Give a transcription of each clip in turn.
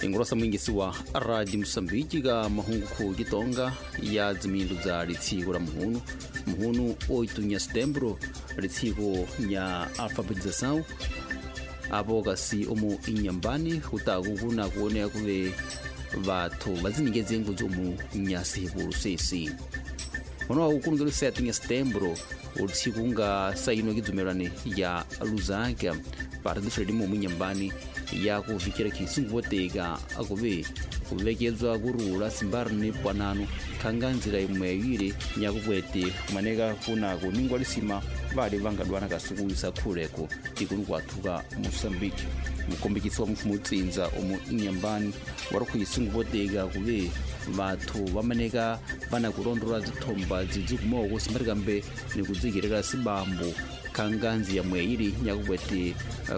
Ingolosa mwingisi wa Radio Mosambiki ka mahungu khu Kitonga ya dzimindu dza litsiko la muhunu muhunu 8 nya Setembro litsiko nya alfabetização apo kasi omu inyambani kutaku kuna kuoneka kuve vathu vadzinikeze ngudzi omu nyasihipulu sesi ono ukulungelo 7 nya Setembro utsiku nga saino kidzumelani ya Lusaka Partido Frelimo omu inyambani ya kuvikira khisungu voteka akuve kuvekedzwa kurula simbari ni pwanano khanga nzira imwe yili nyakupwete kumaneka kuna kuningwa lisima vali vangadwana kasukuisa khuleko tikulu kwathuka Moçambique. Mukombekisi wa mfumo utsinza omu inyambani wari khuisungu voteka kuve vathu vamaneka vana kulondola dzithomba dzidzi kumoko simbari kambe nikudzikirira sibambo khanga nzi yamwe ili nyakupwete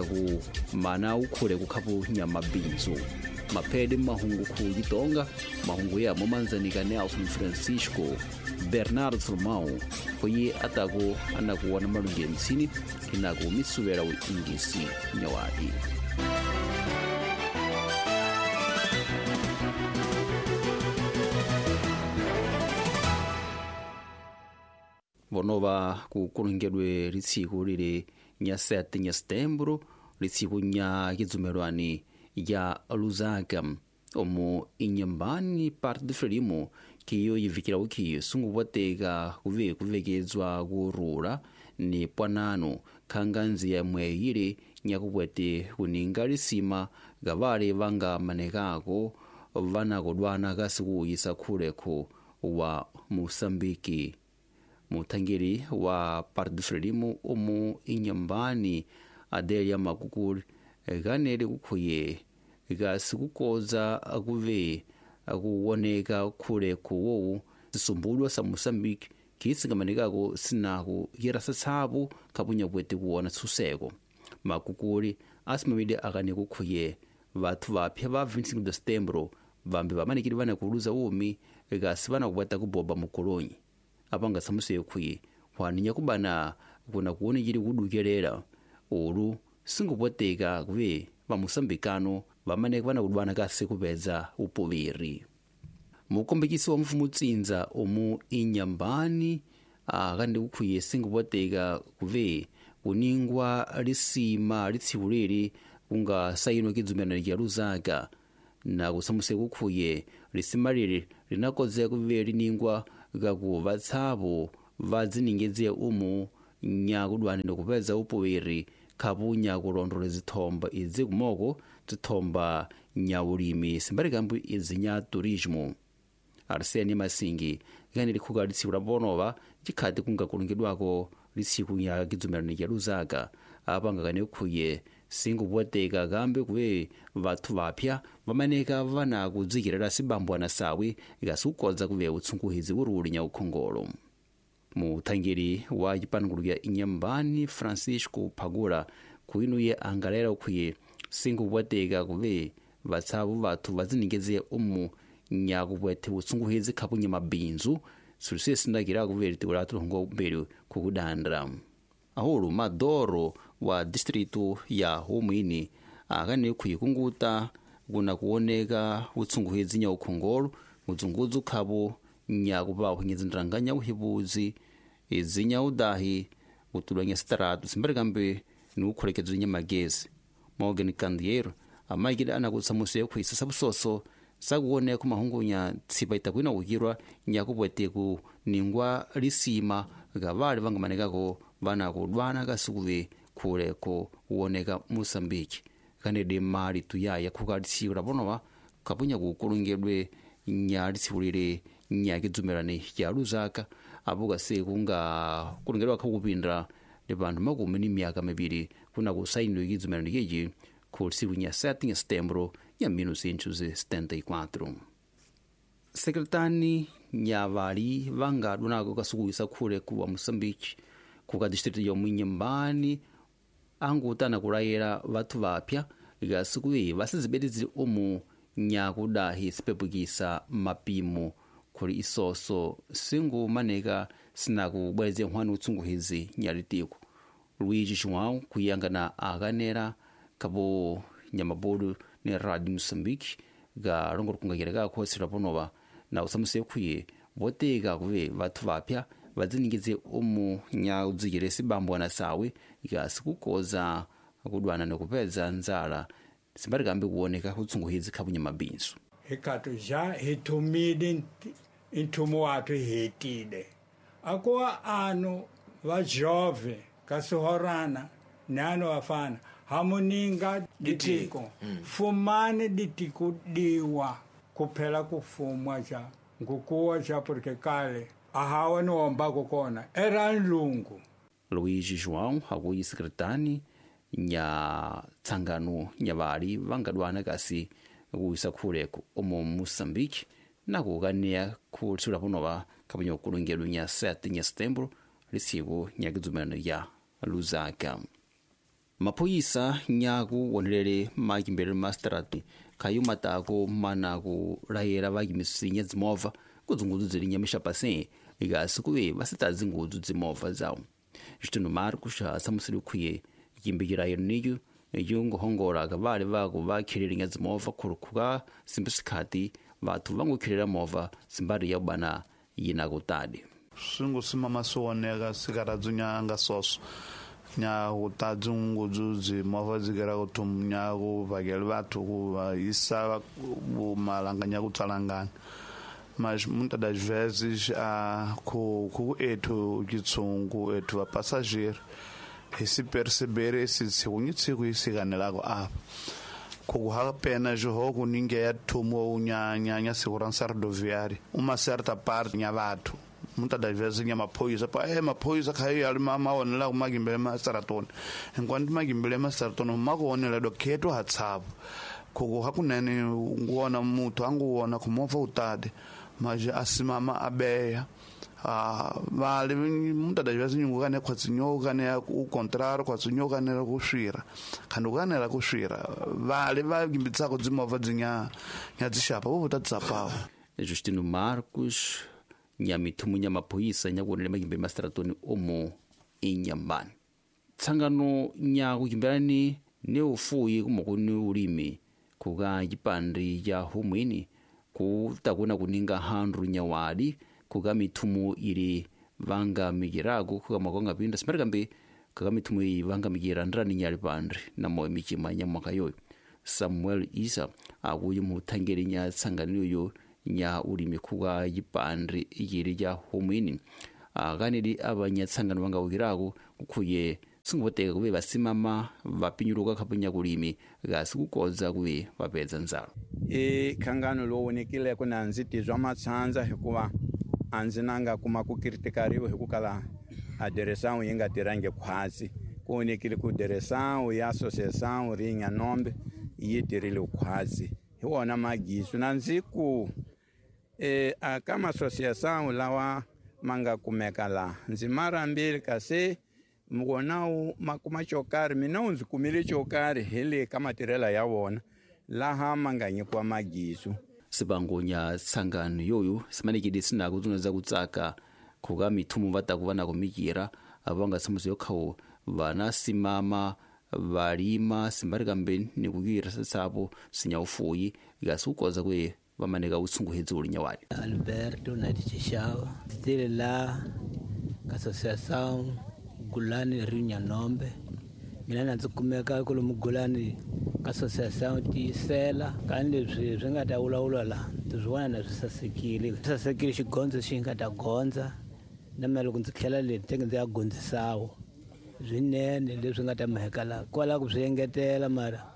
ku mana ukhule kukhapu nyamabinzo. Maphede mahungu khu Kitonga mahungu ya momanzanika Nelson Francisco Bernardo Salomão kuyi atako anakuwana malungi mtsini inaku misuvela uingisi nyawadi. Vonova kukulungedwe litsiku lili nya 7 nya Setembro litsiku nya kidzumelwani ya Lusaka omu inyambani Partido Frelimo kiyo yivikira ukhiyo sungu voteka kuve kuvekedzwa kurula ni pwanano khanga nzi yamwe yili nyakupwete kuninga lisima gavale vanga manekako vanakodwana kasikuuyisa khulekho wa Mosambiki. Muthangeli wa Partido Frelimo omu inyambani Adelia Makukuli kanele kukhuye kasikukoza akuve akuwoneka khulekho wowu sisumbulwa sa Mosambiki khiisingamanekako sinaku yirasa tsapu khapunyakwete kuwona tshuseko. Makukuli asimamile akane kukhuye vathu vapya va 25 de Setembro vambi vamanekile vana kuluza umi kasi vanakupweta kuboba mukolonyi apanga samuseyo khuye hwaninya kubana kuna kuwonekile kudukelela ulu singupoteka kuve vamusambikano vamaneka vanakudwana kasi kupedza upoveri. Mukombekisi wa mfumo utsinza omu inyambani akandi kukhuye singupoteka kuve kuningwa lisima litsiku lili kunga saino kidzumelano kya Lusaka na kusamuse kukhuye lisima lili linakozeka kuve liningwa kaku vatsapo vadziningedze umu nyakudwana ndikupedza upoveri khapu nyakulondola zithomba idzi kumoko zithomba nyaulimi simbalikambu idzi nya turismo. Arsene Masingi kani likhuka litsiku la ponova cikhati kungakulungidwako litsiku nya kidzumelano kya Lusaka apanga kane khuye singupoteka kambe kuve vathu vapya vamaneka vanakudzikirira sibambwana sawi ikasukodza kuve utsunguhizi uruli nya ukhongolo. Muthangeli wa cipanukulu kya inyambani Francisco Phagula kuinuye angalera ukhuye singupoteka kuve vatsavu vathu vadziningedze umu nyakupwethe utsunguhizi khapunya mabinzu sulusiye sindakira kuve litiko la tulongo mbeli kukudandra. Ahulu Madoro wa distritu ya Humwini akane khuyikunguta kuna kuoneka utsunguhizi nya ukhongolo udzungudzu khapu nyakupa uhinyedzi nya uhipuzi idzi nya udahi utulwa nya sitaratu simbali ni ukholekedzo nya magezi. Morgan Candiero amayikile anakutsamusiye khuisa sabusoso sakuwoneka mahungunya tsipa itakwina kukirwa nyakupwete kuningwa lisima gavale vangamanekako vanakudwana kasikuve khuleko kuwoneka Mosambiki kanede mali tuyaya khuka litsiku la ponova kapunya kukulungedwe nya litsiku lili nyakidzumelani ya Lusaka apo kasi kunga kulungedwa khakupindra ndi panthu makumi ni miyaka mibiri kuna kusainidwa kidzumelano kechi khu litsiku nya 7 Setembro ya 1974. Sekretani nyavali vangadwanako kasukuisa khule kuwa Mosambiki kuka distritu ya Mwinyambani angutana kulayela vathu vapya ikasikuve vasizibetizile omu nyakudahi sipepukisa mapimo khuli isoso singumaneka sinakubweze nkhwani utsunguhizi nyalitiko. Luigi João kuyangana akanera kapo nyamabodu ni Radio Mosambiki Ga longolokunga ga khotsela ponova na usamuse khuye voteka kuve vathu vapya vadziningidze umu nyaudzikile sibambo na sawe ikasikukoza kudwana nekupedza nzala simbarikambe kuoneka kutsunguhidzi khapunya mabinzu hikatu ja hitumide intumo watu hitide akuwa anu vajove kasihorana nano vafana hamuninga ditiko fumani ditiko diwa kuphela kufumwa ja ngukuwa ja porque kale ahawa niwombako kona era nlungu. Luigi João hakuyi sekretani nya tsangano nya vali vangadwana kasi kuisa khuleko omo Moçambique nakukaniya khuthula ponova khapunya kulungelo nya 7 nya setembro lisiku nyakidzumano ya Lusaka. Maphoyisa nyaku wonelele makimbelele mastrati khayumatako mana kulayela vakimisinya dzimova kudzungudzu dzilinya mixapase ikasi kuve vasita dzingudzu dzimova zawo. Justino Marcos asamusile khuye yimbikira niyo yunguhongola vale vako vakhilelinya dzimova khulukhuka simbi sikhati vathu vangukhilela mova simbari ya ubana yinakutadi swingu simama swi sikaradzinyanga soso nya kutadzungudzu dzimova dzikera kuthum nya kuvakela vathu kuva isa malanga nya kutsalangana mas muitas das vezes a ku ethu kitsungu ethu vapassageiro ese perceber esse sikunyitsiku isikanelako apa kukuha pena jogo ninguém é tomou nya segurança rodoviária uma certa parte nya vathu muitas das vezes nya maphoyisa pa maphoyisa khayo ali mama onela kumakimbele masaratoni enquanto makimbele masaratoni makuonela do kheto hatsavo kukuha kunene nguona muthu anguona kumova utade mas asimama abeya vale muitas das vezes nyungukane khwatsinyoukane o contrário khwatsinyoukane ku swira khandi ukanela ku swira vale va kimbitsako dzimovha dzinya nya dzixapa vo ta tsapawo. Justino Marcos nyamithumu nya maphoyisa nyakuonele makimbe masaratoni omo inyambani tsangano nyakukimbelani ne ufuyi kumokuni ulimi kuka yipandi ya humwini kutakuna kuninga handru nyawadi kuka mithumu ili vangamikirako kuka makonga pinda simarikambe kaka mithumu iyi vangamikira ndrani nyali pandri namo michima nya mwaka yoyo. Samuel Isa akuyi muthangeli nya tsangano yoyo nya ulimi kuka yipandri ikili ya humwini akaneli abanyatsangano vangawukirako kukhuye singuvoteka kuve vasimama vapinyuluka khapunya kulimi kasi kukodza kuve vapedza ndzalo. I khangano lowu na ndzi tizwa matshandza hikuva a ndzi nanga kuma ku kritikariwa hikukala a direção yi nga tirhangi khwatsi ku onekile ku direção ya associação rinya nombe yi tirhile khwatsi hi wona magisu na ndzi ku a ka ma-associação lawa ma nga kumeka laha ndzi marambili kasi wona wu ma kuma xo karhi mina wu ndzi kumile xo karhi hi le ka matirhelo ya wona laha ma nga nyikiwa magisu. Sibango nya tsangano yoyo simanekile sinako tsuna kutsaka khuka mithumu va taku va na kumikira ava nga tshamusi yo khawo vana simama valima simbarikambe ni kukira sapo sinyaufuyi ikasi kukoza kuye vamaneka utsunguhedzi ulinyawali. Alberto Nadixixava tile la associação Gulani Rio Nombe mina na ndzi kumeka kwalomu Gulani ka associação tiyisela kani leswi swi nga ta vulavula la ndzi swi vona na swi sasekile sasekile xigondzo xi nga ta gondza na mina loko ndzi tlhela le tenge ndzi ya gondzisawo swinene leswi nga ta mheka la kwala ku swi engetela mara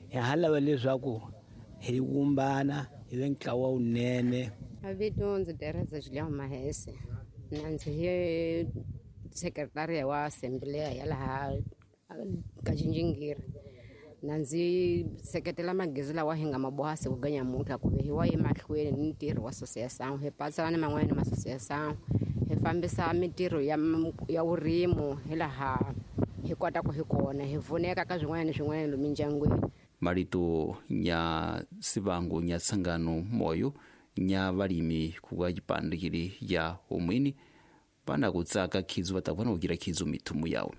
hi ha lava leswaku hi vumbana hi ve ntlawa wunene. Vito ndzi Teresa Julião Mahese na ndzi hi sekretariya wa assembleya ya laha ka Jinjingiri na ndzi seketela magezi lawa hi nga maboha siku ga nyamuntlha ku ve hi wa emahlweni ni ntirho wa associação hi patsana ni man'wanyana ma associação hi fambisa mintirho ya vurimu hi laha hi kotaka hi kona hi pfuneka ka swin'wana ni swin'wana lomu mindyangwini. Marito nya sivango nya tsangano moyo nya valimi kuka yipandikili ya humwini vana kutsaka khizu va ta vona kukira khizu mithumu yawo.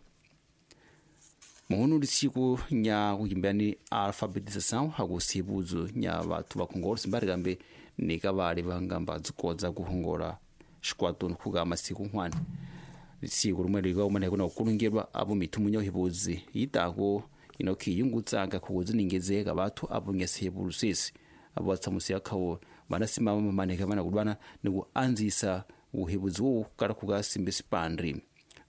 Muhunu lisiku nya kukimbani alfabetização hakusibudzo nya vathu vakhongola simbarikambe nika vali vangamba dzikodza kuhongola xikwatoni khuka masiku nkhwani lisiku limwe likaumane kuna kukulungirwa apo mithumu nya uhipudzi yitako inokhi yungutsanga khukuziningezeka vathu apo nyasihepulu sesi apo vatsamusi akhawo vanasimama mamaneka vana kudwana ni kuanzisa uhepudzi wowu kala khuka simbe sipandri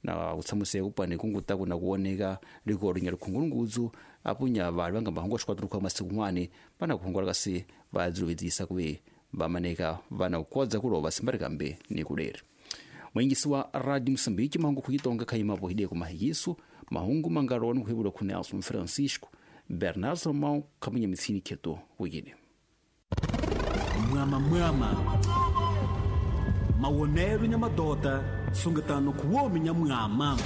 na kutsamuseka kupani kungutaku na kuoneka likolo nya likhungulungudzu apo nya vali vangamba hongola xikwatoni khuka masiku nkhwani vana kuhongola kasi vadzilovedzisa kuve vamaneka vana kukodza kulova simbarikambe ni kuleri. Mwingisi wa Radio Moçambique mahungu khuitonga khaimapo hideko mahiyisu mahungu mangaloni khuivula khu Nelson Francisco Bernardo Salomão khamunya mitsini kheto wikile. Mwama mwama mawonelo nya madota sungatano khuwomi nya mwama.